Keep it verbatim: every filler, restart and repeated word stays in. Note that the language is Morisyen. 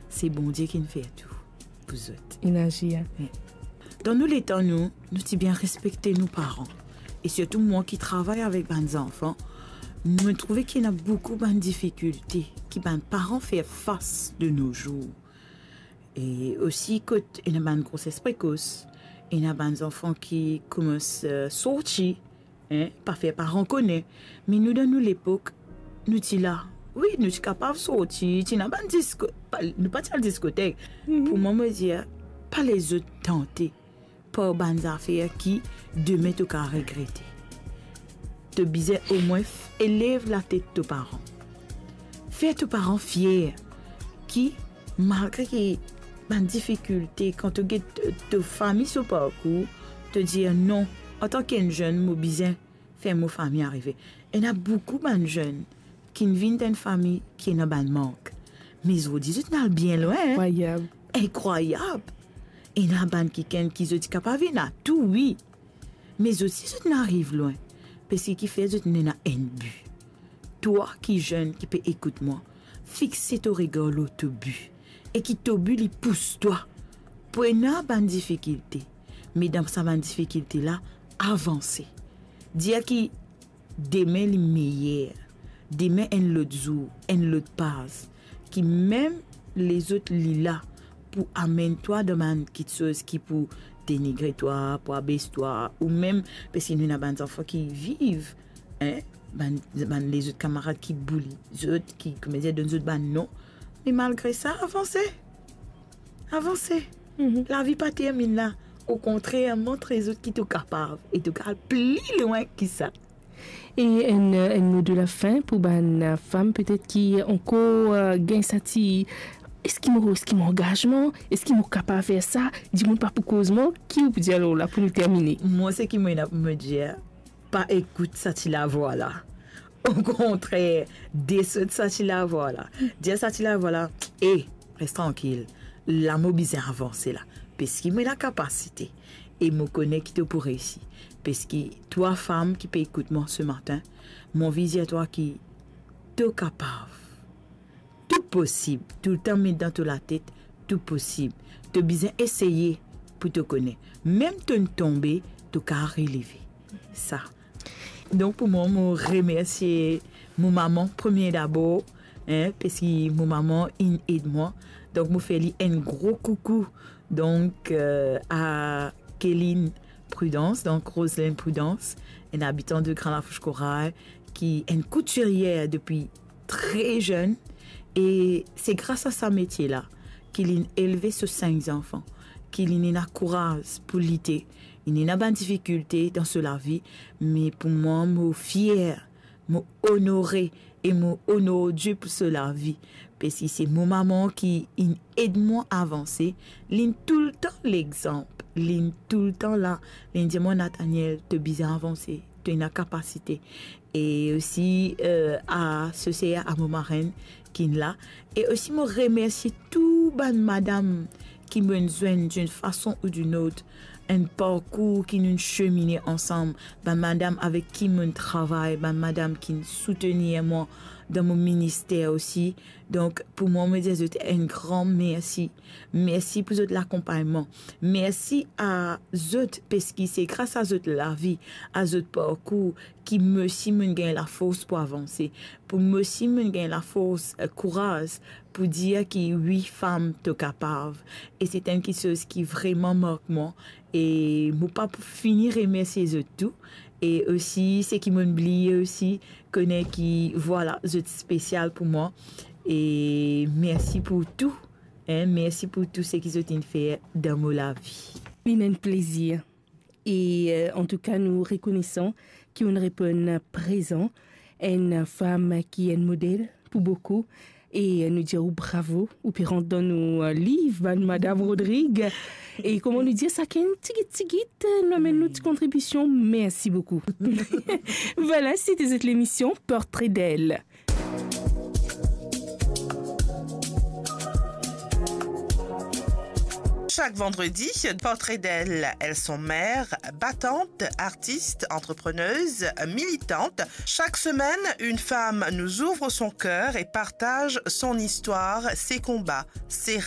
Se Bondie ki'nn fer tou pou zot. Inn azir. Wi. Dan nou letan, nou, nou ti bien respekte nou paran. E sirtou mwa ki travay avek bann zanfan, mo trouve ki ena boukou bann difikilte ki bann paran fer fas de nos jours. E osi kot ena bann groses prekos, ena bann zanfan ki koumans, eh, sorti, en, pa fer paran kone. Me nou, dan nou lepok, nou ti la. Wi, nou ti kapav sorti, ti ena bann disko-, pa, nou pa ti al diskotek. Mhm. Pou mwa, mo dir, pa les zot tante par bann zafer ki demin to kapav regrete. To bizin omwin f-, elev latet to paran. Fer to paran fier ki, malgre ki bann difikilte, kan to get to, to fami so parkour, to dir, "Non, antan ki enn zenn, mo bizin fer mo fami arive." Ena boukou bann zenn ki'nn vinn dan enn fami ki ena bann mank. Me zordi, zot inn al bien lwin, en? Inkrwayab. Inkrwayab. Ena bann kikenn ki zot ti kapav ena tou, wi. Me zot si zot inn ariv lwin, parski kifer zot inn ena enn bi. Twa ki zenn ki pe ekout mwa, fixe to regar lor to bi, e ki to bi li pous twa pou ena bann difikilte, me dan sa bann difikilte la, avanse. Dir ki demin li meyer, demin enn lot zour, enn lot paz, ki mem lezot li la pou amenn twa dan bann kiksoz ki pou denigre twa, pou abes twa, ou mem, parski nou ena bann zanfan ki viv, en, bann, bann lezot kamarad ki bouli zot, ki, kouma dir, donn zot bann non. Me malgre sa, avanse. Avanse. Mhm. Lavi pa terminn la. Okontrer, montre zot ki to kapav e to kapav al pli lwin ki sa. E enn, enn mo de lafin pou bann fam petet ki ankor, eh, gagn sa ti, eski mo, eski mo angazman, eski mo kapav fer sa, dimoun pa pou koz mwa, ki ou pou dir lor la pou nou termine? Mwa, seki mo ena pou mo dir, pa ekout sa ti lavwa la. Okontrer, desot sa ti lavwa la. Dir sa ti lavwa la, "E, res trankil. La mo bizin avanse la. Parski mo ena kapasite. E mo kone ki to pou reysi." Parski twa fam ki pe ekout mwa se matin, mo anvi dir twa ki to kapav. Tou posib. Toultan met dan to latet, tou posib. To bizin eseye pou to kone. Mem to'nn tonbe, to kapav releve. Sa. Donk pou mwa, mo remersie mo mama premie dabor, en, parski mo mama inn ed mwa. Donk mo fer li enn gro koukou. Donk, eh, a Kéline Prudence, donk Roselyne Prudence, enn abitan de Grand Lafourche Corail, ki enn koutirier depi tre zenn, e se gras a sa metie la ki li'nn elve so sink zanfan, ki li'nn ena kouraz pou lite. Li'nn ena bann difikilte dan so lavi, me pou mwa, mo fier, mo onore e mo onor Die pou so lavi, parski se mo mama ki inn ed mwa avanse. Li'nn toultan lexanp, li'nn toultan la, li'nn dir mwa, "Nathaniel, to bizin avanse, to ena kapasite." E osi, eh, a so ser, a mo marenn ki'nn la. E osi mo remersie tou bann madam ki mo'nn zwenn d'une façon ou d'une autre, enn parkour ki nou'nn semine ansam, bann madam avek ki mo'nn travay, bann madam ki'nn soutenir mwa dan mo minister osi. Donk pou mwa, mo dir zot enn gran mersi. Mersi pou zot lakonpagnman. Mersi a zot, parski se gras a zot lavi, a zot parkour, ki mo osi mo'nn gagn lafors pou avanse, pou mo osi mo'nn gagn lafors, eh, kouraz pou dir ki wi, fam, to kapav. E se enn kiksoz ki vreman mark mwa. E mo pa pou fini remersie zot tou. E osi, seki mo'nn bliye osi, kone ki, vwala, zot spesial pou mwa. E mersi pou tou, en, mersi pou tou seki zot inn fer dan mo lavi. Li enn plezir. E, eh, antouka, nou rekonesan ki ou'nn reponn prezan, enn fam ki enn model pou boukou. E, eh, nou dir ou bravo, ou pe rant dan nou, eh, liv, bann Madam Rodrigue. E kouma nou dir, sakenn tigit tigit, eh, nou amenn nou ti kontribision. Mersi boukou. Vwala, se ti zot lemision Portrait d'elle. Chaque vendredi, Portrait d'elle, elles sont mères, battantes, artistes, entrepreneuses, militantes. Chaque semaine, une femme nous ouvre son cœur et partage son histoire, ses combats, ses